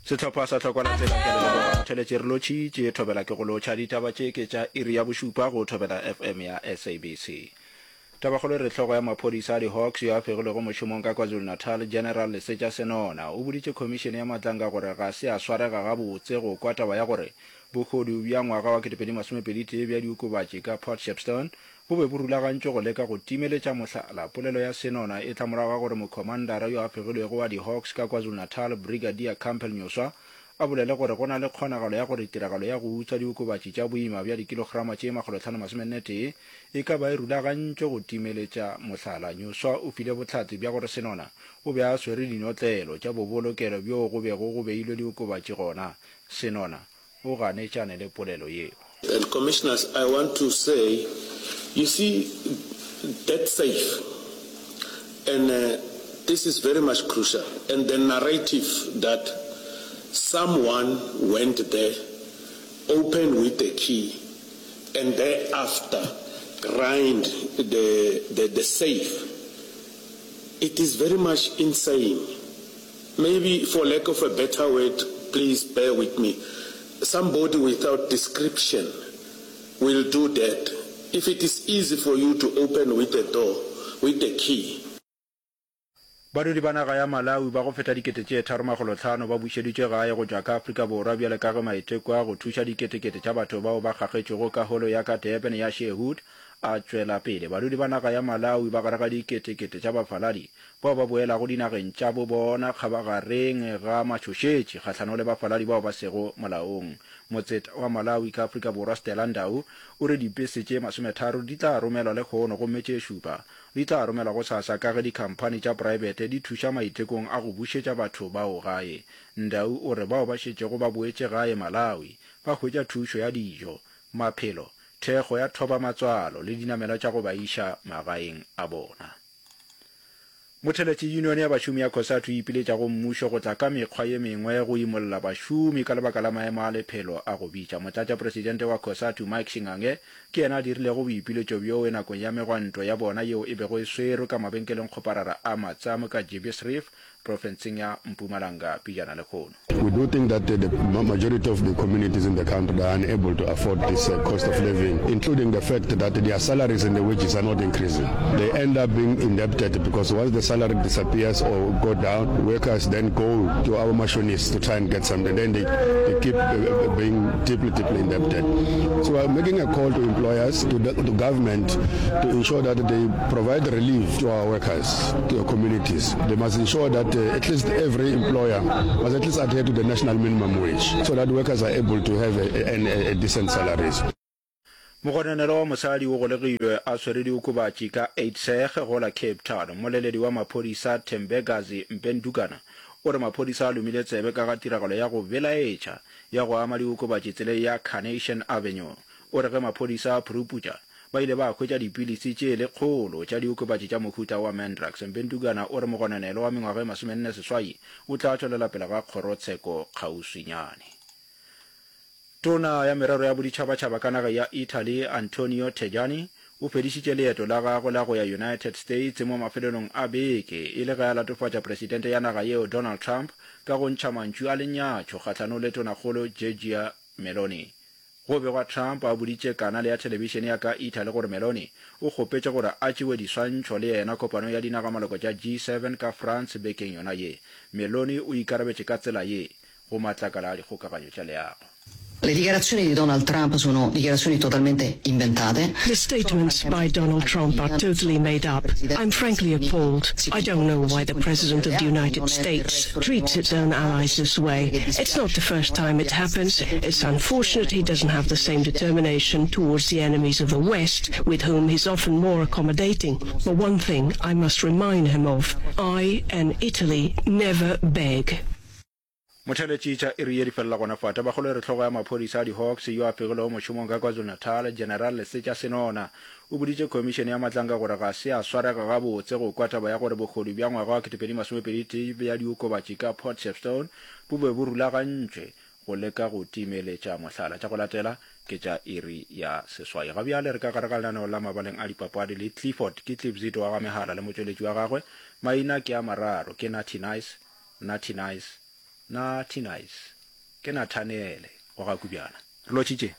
Sehlopha sa Tlhokwa la Tsela ke a le leboga. Motheletši re lotšhitše, Thobela ke go lotšha. Ditaba tše ke tša iri ya bošupa go Thobela FM ya SABC. Tabakgolo e re hlogo ya maphodisa a di-Hawks yo a fegilwego mošomong ka KwaZulu-Natal, General Lesetša Senona, o boditše khomišene ya Matlanga gore ga se a swarega gabotse go kwa taba ya gore bohodu bja ngwaga wa 2021 bja diokobatši ka Port Shepstone bo be bo rulagantšwe go leka go timeletša mohlala. Polelo ya Senona e tla morago ga gore mokhomandara yo a fegilwego wa di-Hawks ka KwaZulu-Natal, Brigadier Campbell Nyoswa, a bolele gore go na le kgonagalo ya gore tiragalo ya go utswa diokobatši tša boima bja dikilograma tše 541 e ka ba e rulagantšwe go timeletša mohlala. Nyoswa o file bohlatse bja gore Senona o be a swere dinotlelo tša bobolokelo bjoo go bego go beilwe diokobatši gona. Senona o ganetšane le polelo yeo. And commissioners I want to say you see that safe and this is very much crucial and the narrative that someone went there opened with the key and thereafter grind the the the safe it is very much insane maybe for lack of a better word please bear with me somebody without description will do that if it is easy for you to open with the door with the key. Badudi ba naga ya Malawi ba go feta 3500 ba bušeditšwe gae go tšwa ka Afrika Borwa bjale ka ge maiteko a go thuša diketekete tša batho bao ba kgakgetšwego ka holo ya ka Durban ya Sheerhood a tšwela pele. Badudi ba naga ya Malawi ba gare ga diketekete tša bafaladi bao ba boelago dinageng tša bo bona kgabagareng ga matšhošetši kgahlanong le bafaladi bao ba sego molaong. Motseta wa Malawi ka Afrika Borwa Stella Ndau o re dipese tše masometharo di tla romelwa lehono gomme tše šupa di tla romelwa gosasa ka ge dikhamphani tša praebete di thuša maitekong a go bušetša batho bao gae. Ndau o re bao ba šetšego ba boetše gae Malawi ba hwetša thušo ya dijo, maphelo, thekgo ya thobamatswalo le dinamelwa tša go ba iša magaeng a bona. Motheletši Yunione ya bašomi ya Cosatu e ipiletša go mmušo go tla ka mekgwa ye mengwe go imolla bašomi ka lebaka la maemo a lephelo a go bitša. Motlatšapresidente wa Cosatu Mike Shingange ke yena a dirilego boipiletšo bjoo nakong ya megwanto ya bona yeo e bego e swerwe ka mabenkelengkgoparara a Matsamo ka Jebbies Reef profenseng ya Mpumalanga pejana lehono. We do think that the majority of the communities in the country they are unable to afford this uh, cost of living, including the fact that their salaries and the wages are not increasing. They end up being indebted because once the salary disappears or go down, workers then go to our machinists to try and get something. Then they, they keep uh, uh, being deeply, deeply indebted. So we're making a call to employers, to the to government, to ensure that they provide relief to our workers, to our communities. They must ensure that uh, at least every employer must at least adhere to the national minimum wage so that workers are able to have a, a, a decent salaries. Mogononelwa wa mosadi o golegilwe a swere diokobatši ka Uitsig go la Cape Town. Mmoleledi wa maphodisa Thembekazi Mpendukana o re maphodisa a lomile tsebe ka ga tiragalo ya go belaetša ya go ama diokobatši tseleng ya Carnation Avenue. O re ge maphodisa a phuruputša, ba ile ba hwetša dipilisi tše lekgolo tša diokobatši tša mohuta wa Mandrax. Mpendukana o re mogononelwa wa mengwaga e 48 o tla tšwelela pele ga kgorotsheko kgauswinyane. Tona ya Merero ya Boditšhabatšhaba ka naga ya Italy, Antonio Tajani, o fedišitše leeto la gagwe la go ya United States mo mafelelong a beke e le ge a latofatša Presidente ya naga yeo Donald Trump ka go ntšha mantšu a lenyatšo kgahlanong le Tonakgolo Giorgia Meloni. Go begwa Trump a boditše kanale ya thelebišene ya ka Italy gore Meloni o kgopetše gore a tšewe diswantšho le yena kopanong ya dinagamaloko tša G7 ka France bekeng yona ye. Meloni o ikarabetše ka tsela ye go matlakala a dikgokaganyo tša leago. Le dichiarazioni di Donald Trump sono dichiarazioni totalmente inventate. The statements by Donald Trump are totally made up. I'm frankly appalled. I don't know why the President of the United States treats its own allies this way. It's not the first time it happens. It's unfortunate he doesn't have the same determination towards the enemies of the West, with whom he's often more accommodating. But one thing I must remind him of, I and Italy never beg. Motheeletši tša iri ye di felela gona fa. Tabakgolo e re hlogo ya maphodisa a di-Hawks yo a fegilego mošomong ka KwaZulu-Natal, General Lesetša Senona, o boditše khomišene ya Matlanka gore ga se a swarega gabotse go kwa taba ya gore bohodu bja ngwaga wa 2021 bja diokobatši ka Port Shepstone bo be bo rulagantšwe go leka go timeletša mohlala. Tša go latela ke tša iri ya seswai. Ga bjale re ka gare ga lenaneo la mabaleng a dipapadi le Clifford ke Cliff Zito wa ga Mehala le motšweletši wa gagwe. Maina ke a mararo, ke Natty Nice, Natty Nice. Na Tinice, ke Nathaniele wa ga Kubjana. Re lotšhitše.